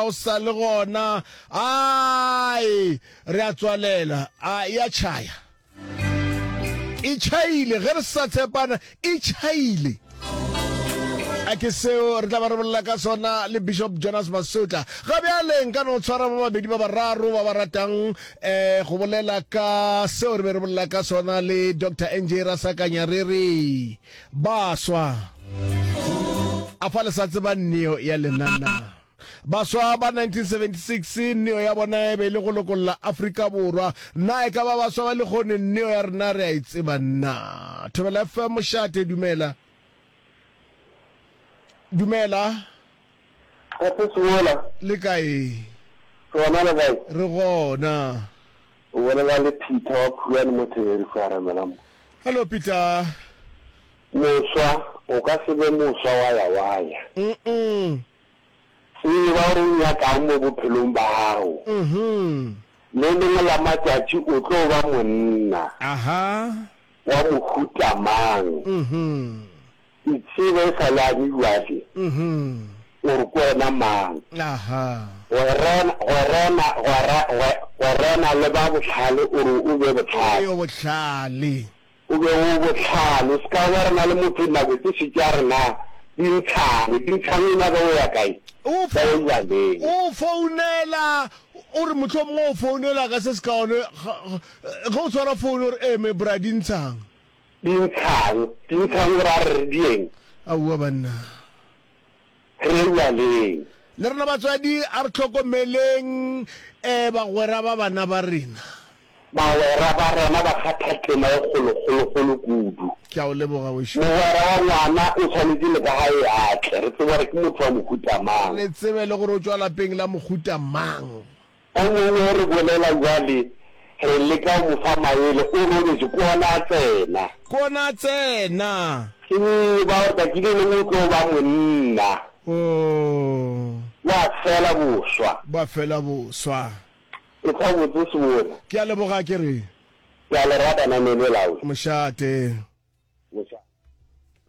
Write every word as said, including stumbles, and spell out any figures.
O sa le gona. Ai, re a tswalela. A e a tšhaya. E tšhaile, ge re sa tshepana, e tšhaile. A ke seo re tla ba re bolela ka sona le Bishop Jonas Masotla. Ga bjale nka no tshwara ba babedi ba bararo ba ba ratang eh go bolela ka seo re be re bolela ka sona le Doctor N J Rasakanya re re baswa a fa le sa tseba neo ya lena na. Baswa ba nineteen seventy-six neo ya bona e be e le go lokolla Afrika Borwa. Na e ka ba baswa ba lekgone neo ya rena re a e tseba na? Thobela F M mošate, dumela. Dumela. Gape Seola. Le kae? Gona le kae? Re gona. O bolela le Peter wa Phuane mo Theberi fa mo. Hello Peter. Moswa, o ka se be moswa wa ya wa ya. Mm. Tseba gore o nyakang mo bophelong ba gago. Mhm. Le lengwe la matšatši o tlo ba monna. Aha. Wa mohuta mang. Mhm. Itsebe e sa le ane jwale. Mhm. Gore ke wena mang. Aha. Gwerana, gwerana, gwera, gwerana le ba bohlale o re o be bohlale. O bohlale. O be o bohlale. O se ka gwerana le motho nako tše šetše a rena dintshane. Dintshane o nyaka o ya kae? O Ka o jaleng. O founela o re mohlomongwe o founela ka se se kaone ge o tshwara phone o re eme bra dintshang. Dintshang, dintshang o ra re re dieng? Aowa banna. Re jaleng. Le rena batswadi a re hlokomeleng eh bagwera ba bana ba rena. Bagwera ba rena ba kgatha tema e kgolokgolokgolo kudu. Ke a o leboga wešo. Mogwera wa ngwana o tshwanetše le ka gae a tle, re tsebe gore ke motho wa mohuta mang. Re tsebe le gore o tšwa lapeng la mohuta mang. O mongwe re bolela bjale, re leka go mo fa maele, o robetše, ke ona a tsena. Ke ona a tsena. Tseba gore tšatši le lengwe o tlo ba monna. Oh. Wa fela boswa. Ba fela boswa. E tla botse Sebona. Ke a leboga ke re. Ke a le rata namele lawe. Mošate. Mošate.